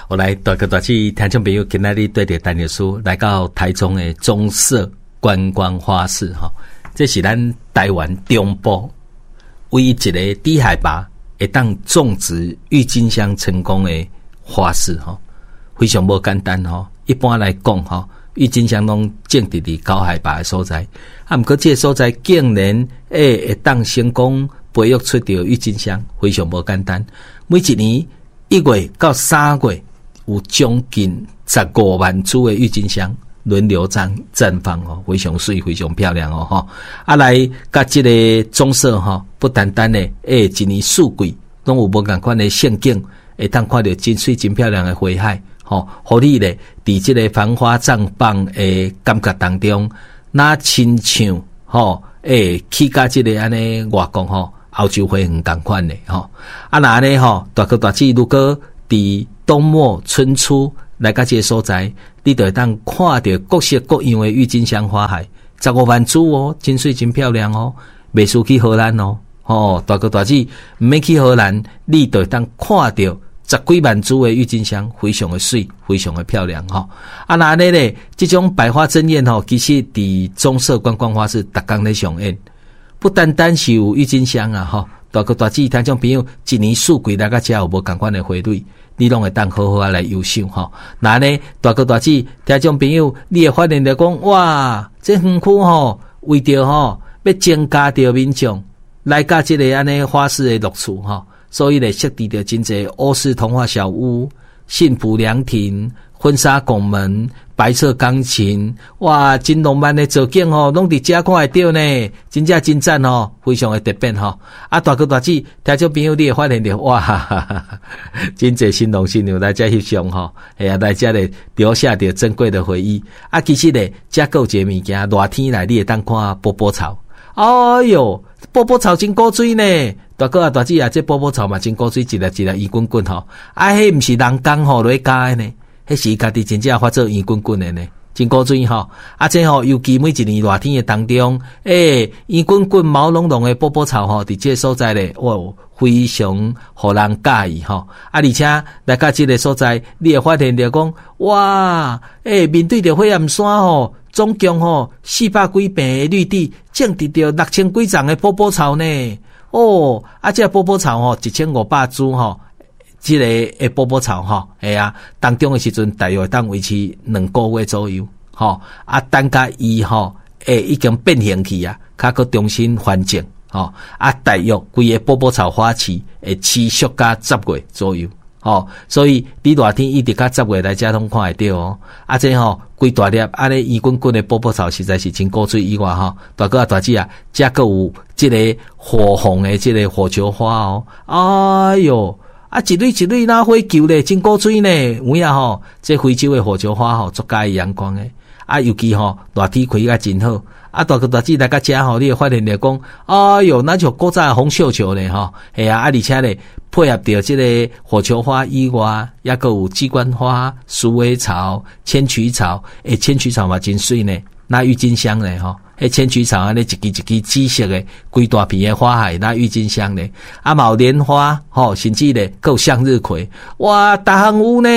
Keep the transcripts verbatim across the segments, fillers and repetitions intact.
我來大哥大姊聽眾朋友，今仔日綴著陳律師來到台中的棕色觀光花市吼，這是咱台灣中部唯一一个低海拔會當種植鬱金香成功的花市吼，非常無簡單吼。一般來講吼，鬱金香攏種植佇高海拔的所在，啊，毋過這个所在竟然會會當成功培育出著鬱金香，非常無簡單。每一年一月到三月，有將近十五萬株的鬱金香輪流綻綻放哦，非常媠，非常漂亮哦，吼！啊，來佮這个棕色吼，不單單的，欸，一年四季攏有無仝款的勝景，會當看著真媠、真漂亮的花海，吼，予你咧佇這个繁花綻放的感覺當中，若親像吼，欸，去佮這个按呢外國吼，歐洲花園仝款的吼。啊，若按呢吼，大哥大姊，如果佇冬末春初來到這个所在，你就會當看著各式各樣的鬱金香花海，十五萬株哦，真媠真漂亮哦，袂輸去荷蘭哦，吼，大哥大姊，毋免去荷蘭，你就會當看著十幾萬株的鬱金香，非常的媠，非常的漂亮吼。啊，若按呢咧，這種百花爭豔吼，其實佇棕色觀光花市逐工咧上演，不單單是有鬱金香啊，吼，大哥大姊聽眾朋友，一年四季來到遮有無仝款的花蕊，你攏會當好好仔來遊賞吼。若按呢，大哥大姊聽眾朋友，你會發現著講，哇，這園區吼，為著吼欲增加著民眾來到這个按呢花市的樂趣吼，所以咧設置著真濟歐式童話小屋、幸福涼亭、婚紗拱門、白色鋼琴，哇，真浪漫的造景吼，攏佇遮看會著呢，真正真讚吼，非常的特別吼。啊，大哥大姊，聽眾朋友，你會發現著，哇，哈哈哈，真濟新郎新娘來遮翕相吼，嘿啊，來遮咧留下著珍貴的回憶。啊，其實咧，遮閣有一个物件，熱天來你會當看波波草。哎喲，波波草真古錐呢！大哥啊，大姊啊，這波波草嘛真古錐，一粒一粒圓滾滾吼。啊，彼毋是人工吼落去加的呢，彼是伊家己真正發做圓滾滾的呢，真古錐吼。啊，這吼尤其每一年熱天的當中，欸，圓滾滾毛茸茸的波波草吼，佇這个所在咧，哇，非常予人佮意吼。啊，而且來到這个所在，你會發現著講，哇，欸，面對著火焰山吼，總共吼四百幾坪的綠地，種植著六千幾叢的波波草呢。哦，啊，這个波波草吼，一千五百株吼，這个的波波草吼，嘿啊，當中的時陣大約會當維持兩個月左右，吼，啊，等甲伊吼，欸，已經變形去啊，較閣重新繁殖，吼，啊，大約規个波波草花期會持續到十月左右，吼，所以你熱天一直到十月來遮攏看會著哦。啊，這吼規大粒按呢圓滾滾的波波草實在是真古錐以外吼，大哥啊大姊啊，遮閣有這个火紅的這个火球花哦，哎喲，啊一蕊一蕊若火球咧，真古錐呢，有影吼，這非洲的火球花吼，足佮意陽光的，啊，尤其吼熱天開甲真好。啊，大哥大姊來到遮吼，你會發現著講，哎喲，若像古早的紅繡球咧吼，嘿啊，啊，而且咧配合著這个火球花以外，抑閣有雞冠花、鼠尾草、千曲草，欸，千曲草嘛真媠呢，若鬱金香咧吼，彼千曲草按呢一支一支紫色的，規大片的花海，若鬱金香咧，啊嘛有蓮花吼，甚至咧閣有向日葵，哇，逐項有呢，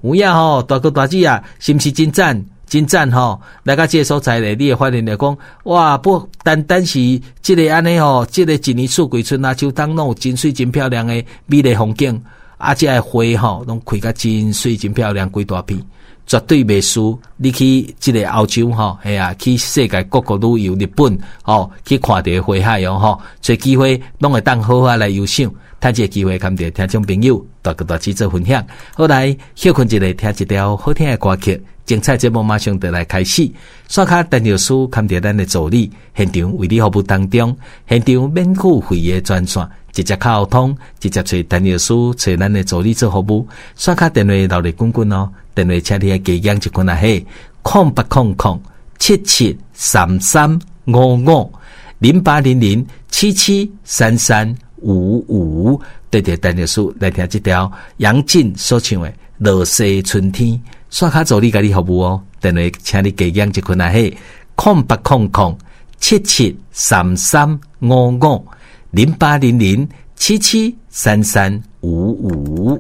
有影吼，大哥大姊啊，是毋是真讚？真讚吼！來到這个所在咧，你會發現著講，哇，不單單是這个按呢吼，這个一年四季春夏秋冬攏有真媠真漂亮的美麗風景，啊，這个花吼攏開甲真媠真漂亮，規大片，絕對袂輸你去這个歐洲吼，嘿啊，去世界各國旅遊，日本吼去看著花海哦吼，揣機會攏會當好好來遊賞，趁這个機會堪著聽眾朋友大哥大姊做分享。好來，歇睏一下，聽一條好聽的歌曲。精彩節目馬上就來開始，刷卡陳律師堪著咱的助理，現場為你服務當中，現場免付費的專線，直接敲通，直接揣陳律師揣咱的助理做服務。刷卡電話熱熱滾滾哦，電話請你愛加減一份啊嘿，空八空空七七三三五五零八零零七七三三五五，綴著陳律師來聽這條楊靜所唱的《落西春天》。刷卡助理共你服務哦，電話請你加減一份啊嘿，空八空空七七三三五五零八零零七七三三五五。